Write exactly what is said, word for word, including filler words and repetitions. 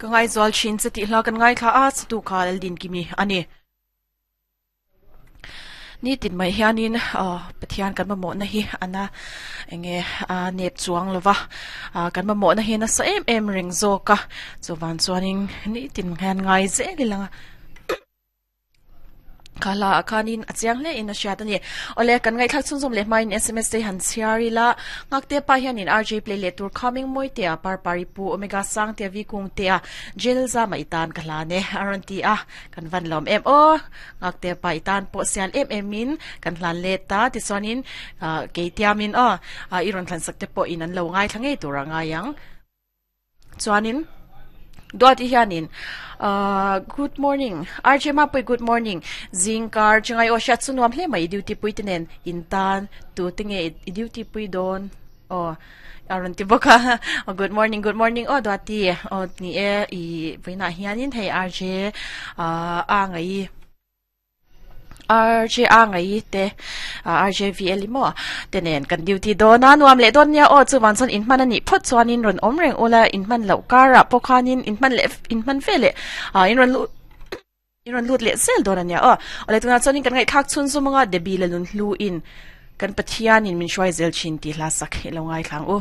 Ka ngai zual thin che tih hla kan ngaithla a chu kha din kimi ani. Ni tin mai hianin Pathian kan mamawh na hi ana enge a nep chuang lova kan mamawh na hi na sa em em reng zawk a chuwan chuanin ni tin hian ngai zel ilanga khala khanin achiang hle in a hriat ani. Ole kan ngai thlak chhunzawm leh hmain S M S te han chhiari la ngakte pa hianin R J play leh tur coming moi te a par pari pu omega sang te vi kung te a jel za mai tan ka hla ne aron ti a kan van lom em o ngakte pa itan po sial em em in kan hlan le ta ti chuanin ke tiamin o iron thlan sak te po in an lo ngai thlange tur anga yang chuanin Duati hianin uh, good morning R J ma pui good morning zingkar chingai o shat sunuam hle mai duty pui tenen intan tu tinge i duty pui don o aron ti boka good morning good morning o duati o ni e i voina hianin hei R J uh, a ngai R J A ngai te R J V L mo tenen kan duty do na nuam le don nia o chuwan chon in man ani phot chuan in ron om reng ola in man lo kara pokhanin in man le in man fe le a in ron lu in ron lut le sel don ania o ole tuna chuan in kan ngai thak chun zumanga debi le lun hlu in kan Pathian in min shwai zel chin ti hla sak lo ngai thlang u.